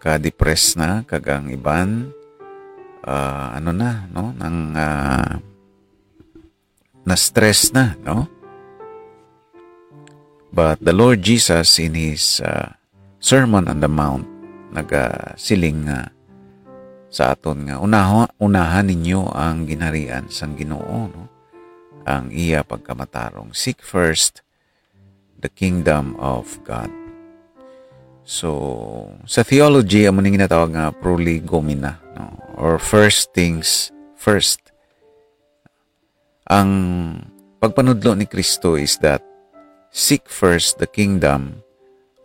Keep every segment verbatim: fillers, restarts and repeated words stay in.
ka-depress na, kag ang iban, ah, ano na, no? Nang, ah, na-stress na, no? But the Lord Jesus in his, ah, Sermon on the Mount nagasiling nga sa aton nga, "Unaho-, unahan ninyo ang ginharian sang Ginoo, no? Ang iya pagkamatarong. Seek first the kingdom of God." So, sa theology, amo ning ginatawag nga prolegomena, no? Or first things first. Ang pagpanudlo ni Kristo is that seek first the kingdom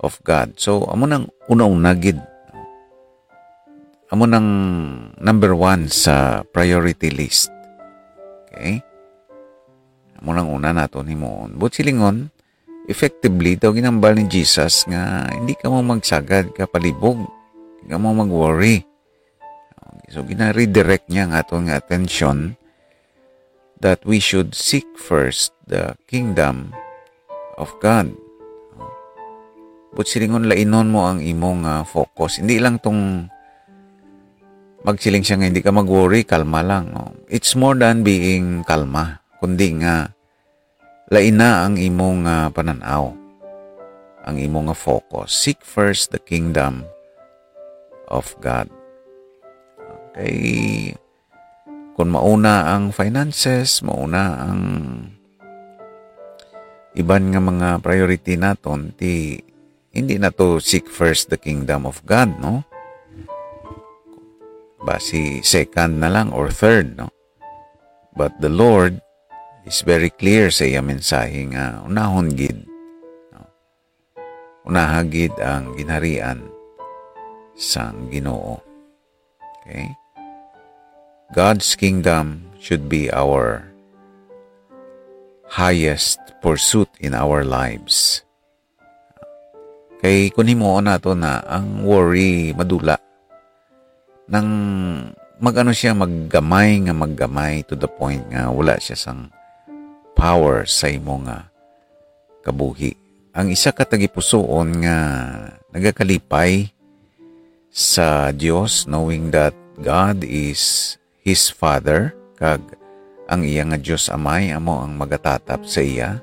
of God. So, amo nang una-una gid. Amo nang number one sa priority list. Okay? Amo nang una naton himuon. But silingon, effectively, daw ginambal ni Jesus nga hindi ka mo magsagad ka palibog. Hindi ka mo mag-worry. So, gina-redirect niya ang aton nga attention that we should seek first the kingdom of God. But silingon, lainon mo ang imong, ah, focus. Hindi lang tong magsiling siya nga hindi ka mag-worry, kalma lang, no? It's more than being kalma, kundi nga laina ang imong, ah, panan-aw, ang imong nga focus. Seek first the kingdom of God. Okay. Kung mauna ang finances, mauna ang iban nga mga priority naton, ti hindi na to seek first the kingdom of God, no? Basi second na lang or third, no? But the Lord is very clear sa iya mensahe nga unahon gid, no? Unaha gid ang ginharian sang Ginoo. Okay? God's kingdom should be our highest pursuit in our lives. Kay kung himuon nato na ang worry madula, nang mag-ano siya, maggamay nga maggamay to the point nga wala siya sang power sa imo nga kabuhi. Ang isa ka tagipusoon nga nagakalipay sa Dios, knowing that God is his Father, kag ang iya nga Dios Amay amo ang magatatap sa iya,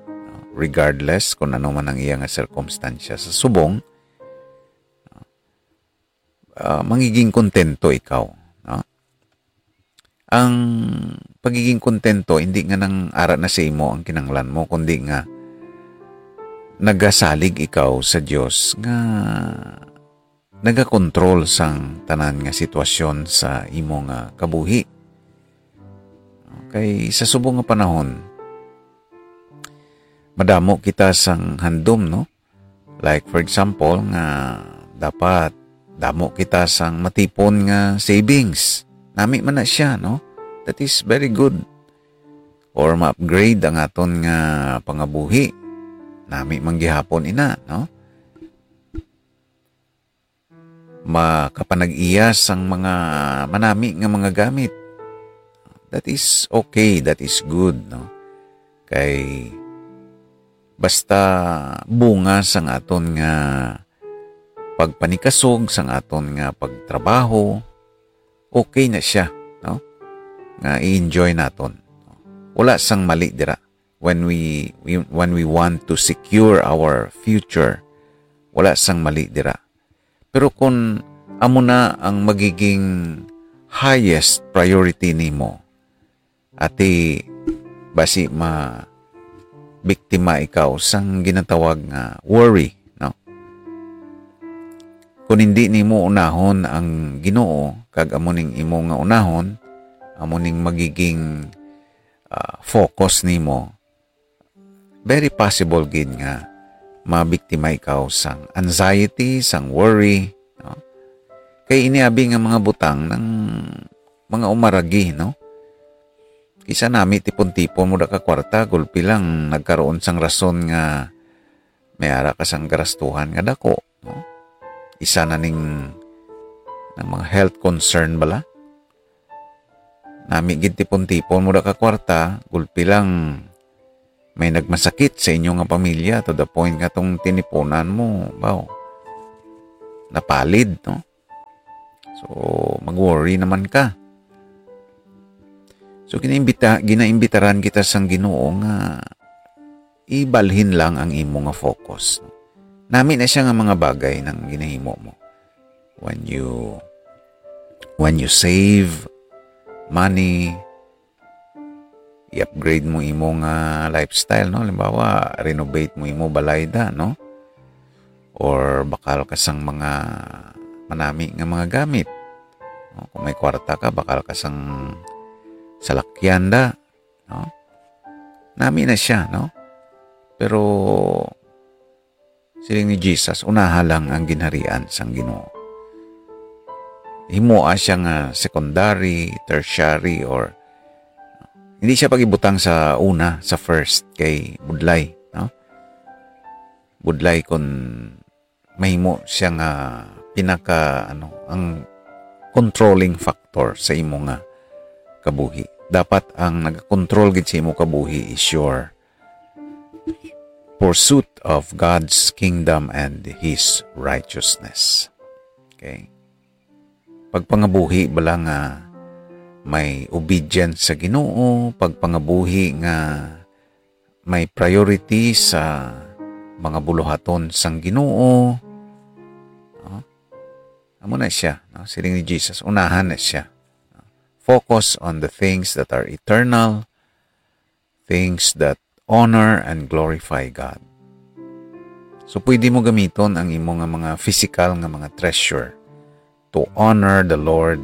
regardless kung ano man ang iya nga sirkumstansya sa subong, ah, mangiging kontento ikaw, no? Ang pagiging kontento, hindi nga nang ara na sa imo ang kinahanglan mo, kundi nga nagasalig ikaw sa Dios nga nagakontrol sang tanan nga sitwasyon sa imo nga kabuhi. Okay, sa subong nga panahon, madamo kita sang handom, no? Like, for example, nga dapat damo kita sang matipon nga savings. Nami man na siya, no? That is very good. Or ma-upgrade ang aton nga pangabuhi. Nami man gihapon ina, no? Makapanag-iya sang mga manami nga mga gamit. That is okay, that is good, no? Kay basta bunga sang aton nga pagpanikasog, sang aton nga pagtrabaho, okay na siya, no? Nga i-enjoy naton. Wala sang mali dira when we, we, when we want to secure our future. Wala sang mali dira. Pero kung amo na ang magiging highest priority nimo, ati basi ma-biktima ikaw sang ginatawag nga worry, no? Kung hindi nimo unahon ang Ginoo, kag amo ning imo nga unahon, amo ning magiging, ah, focus nimo, very possible gid nga mabiktima ikaw sang anxiety, sang worry, no? Kay ini abi nga mga butang nang mga umaragi, no? Kisa nami tipon-tipon mo da ka kwarta, gulpi lang nagkaroon sang rason nga may ara ka sang garastuhan nga dako, no? Isa na ning, ng mga health concern bala. Nami gid tipon-tipon mo da ka kwarta, gulpi lang may nagmasakit sa inyo nga pamilya to the point nga tong tinipunan mo, baw, napalid, no? So, mag-worry naman ka. So, ginaimbita-, ginaimbitaran kita sang Ginoo nga ibalhin lang ang imo nga focus. Nami na siya nga mga bagay nang ginahimo mo. When you, when you save money, i-upgrade mo imo nga lifestyle, no? Halimbawa, renovate mo imo balay da, no? Or bakal ka sang mga manami nga mga gamit. No? Kung may kwarta ka, bakal ka sang salakyan da, no? Nami na siya, no? Pero siling ni Jesus, unaha lang ang ginharian sang Ginoo. Himoa siya nga secondary, tertiary, or hindi siya pag-ibutang sa una, sa first, kay budlay, no? Budlay kun mahimo siya nga pinaka, ano, ang controlling factor sa imo nga kabuhi. Dapat ang nagakontrol gid sa imo kabuhi is your pursuit of God's kingdom and His righteousness. Okay? Pagpangabuhi bala nga may obedience sa Ginoo, pagpangabuhi nga may priority sa mga buluhaton sang Ginoo. No? Amo na siya, no? Siling ni Jesus, unahan na siya. Focus on the things that are eternal, things that honor and glorify God. So, pwede mo gamiton ang imo nga mga physical nga mga treasure to honor the Lord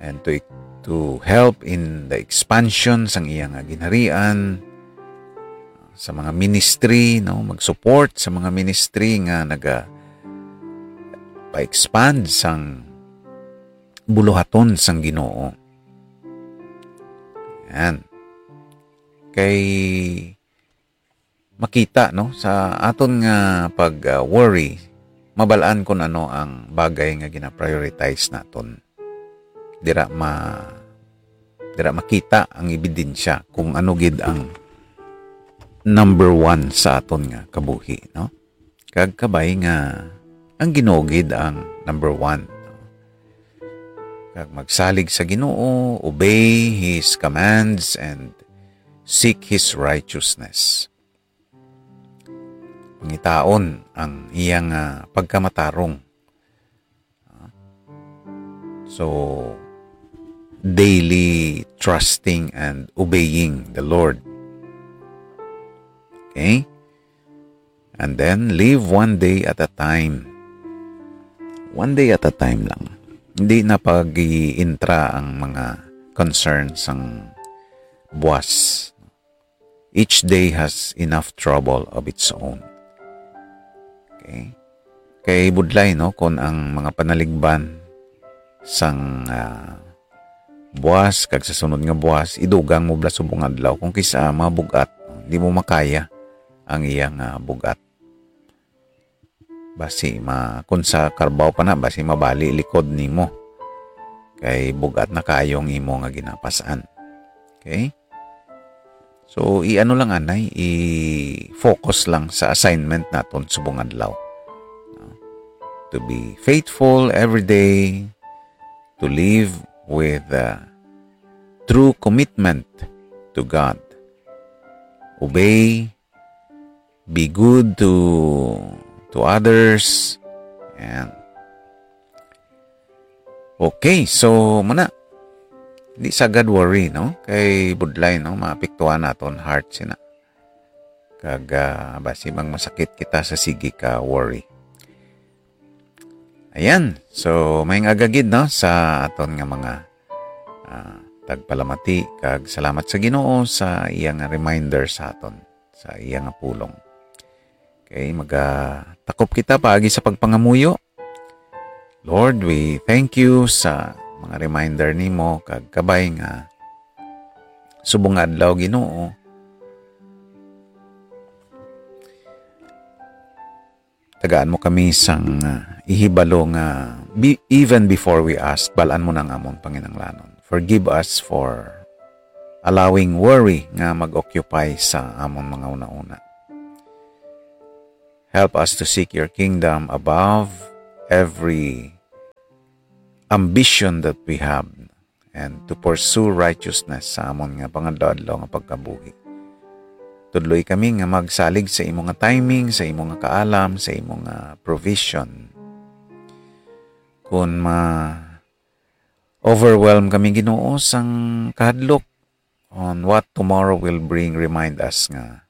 and to, to help in the expansion sang iya nga ginharian, sa mga ministry, no? Mag-support sa mga ministry nga naga pa-expand sang buluhaton sang Ginoo. Yan. Kay makita, no, sa aton nga pag, ah, worry, mabal-an kung ano ang bagay nga gina-prioritize naton. Dira ma-, dira makita ang ebidensya kung ano gid ang number one sa aton nga kabuhi, no? Kag kabay nga ang Ginoo gid ang number one. Kag magsalig sa Ginoo, obey His commands, and seek His righteousness. Pangitaon ang iyang, ah, pagkamatarong. So, daily trusting and obeying the Lord. Okay? And then, live one day at a time. One day at a time lang. Hindi na pag-iintra ang mga concerns sang buwas. Each day has enough trouble of its own. Okay? Kay budlay, no, kung ang mga panaligban sang, ah, buwas kag sa sunod nga buwas, idugang mo bala subong adlaw. Kung kisa mga bug-at, di mo makaya ang iyang, ah, bug-at. Basi ma-, kung sa karbaw pa na, basi mabali likod nimo. Kay bug-at na kayo ang imo nga ginapas-an. Okay? So, i-ano lang, anay, i-focus lang sa assignment naton subong adlaw. No? To be faithful every day, to live with, uh, true commitment to God. Obey, be good to, to others. Yan. Okay, so muna. Di sagad worry, no? Kay budlay, no? Maapektuhan naton heart sina. Kag, ah, basi mang masakit kita sa sige ka worry. Ayan. So, may agagid, no? Sa aton nga mga, ah, tagpalamati. Kag salamat sa Ginoo sa iya nga reminder sa aton, sa iya nga pulong. Okay, magatakop kita paagi sa pagpangamuyo. Lord, we thank you sa mga reminder nimo kag kabay nga subong nga adlaw, Ginoo. Tagaan mo kami sang, ah, ihibalo nga bi-, even before we ask, bal-an mo na ang amon panginahanglanon. Forgive us for allowing worry nga mag-occupy sa amon mga una-una. Help us to seek your kingdom above every ambition that we have and to pursue righteousness sa amon nga pangadlaw-adlaw nga pagkabuhi. Tudloi kami nga magsalig sa imo nga timing, sa imo nga kaalam, sa imo nga provision. Kun ma-overwhelm kami, Ginoo, sang kahadlok on what tomorrow will bring, remind us nga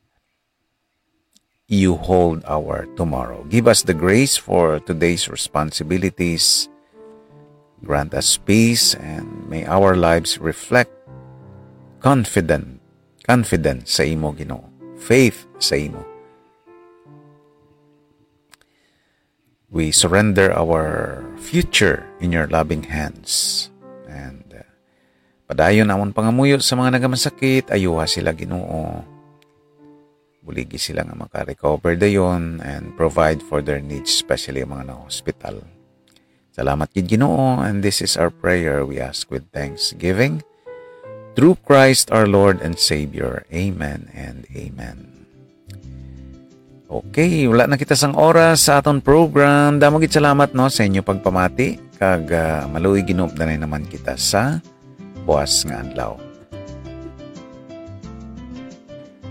you hold our tomorrow. Give us the grace for today's responsibilities. Grant us peace and may our lives reflect confident, confidence sa imo, Ginoo. Faith sa imo. We surrender our future in your loving hands. And uh, padayon amon pangamuyo sa mga nagamasakit, ayuha sila, Ginoo. Buligi sila nga maka-recover dayon and provide for their needs, especially ang mga na-hospital. Salamat gid, Ginoo, and this is our prayer we ask with thanksgiving through Christ our Lord and Savior. Amen and amen. Okay, wala na kita sang oras sa aton program. Damo gid salamat, no, sa inyo pagpamati, kag ah, maluoy ginuupdanay naman kita sa buas nga adlaw.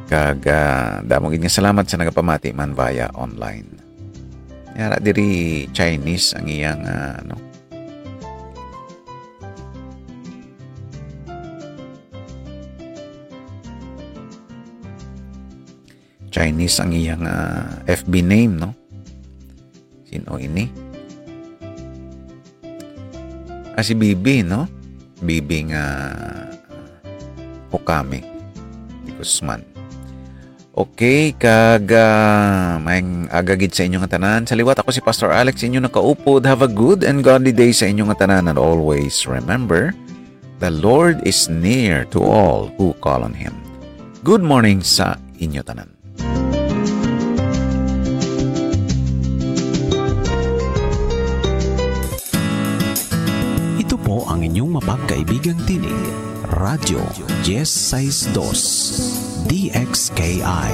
Kag ah, damo gid nga salamat sa nagapamati man via online. Yara diri Chinese ang iyang ah, ano. Chinese ang iyang ah, F B name, no? Sino ini? Ah, si Bibi, no? Bibi nga Okami di Guzman. Okay, kag ah, maayong aga gid sa inyo nga tanan. Sa liwat, ako si Pastor Alex, inyo nakaupod. Have a good and godly day sa inyo nga tanan. And always remember, the Lord is near to all who call on Him. Good morning sa inyo tanan. Ito po ang inyong mapagkaibigang tinig, Radyo Diez Seis Dos, D X K I.